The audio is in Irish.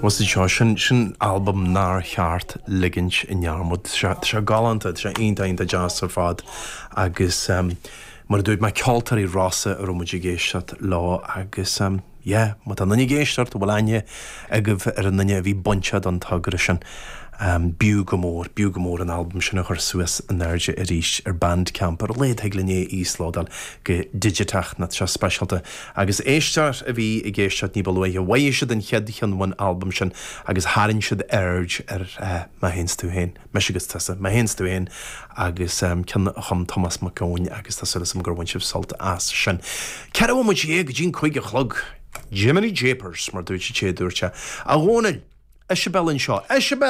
Bhuel seo, sin, sin albam nár cheart ligint i ndearmad. Tá sé galánta, tá sé iontach, iontach deas ar fad agus mar a dúirt mé, Ceoltóirí Rossa a raibh muid ag éisteacht leo agus yeah, má tá duine ag éisteacht a bhfuil aithne agaibh ar an duine a bhí bainteach don togra sin, b'fhiú go mór, b'fhiú go mór an albam sin a chur suas in airde arís ar Bandcamp, ar a laghad thig linn é a íoslódáil go digiteach, nó tá sé speisialta. Agus éisteoir a bhí ag éisteacht ní ba luaithe, mhothaigh siad an chéad cheann ón albam sin agus tharraing siad aird ar Mé Féin 's Tú Féin, Mise agus Tusa, Mé Féin 's Tú Féin agus ceann a chum Tomás Mac Eoin agus tá súil agam gur bhain sibh sult as sin. 14 bhomaite go dtí an 5 a chlog. Jiminy Japers, mar dúirt sé, dúirt sé. A Dhónaill! Isabel anseo. Isabel!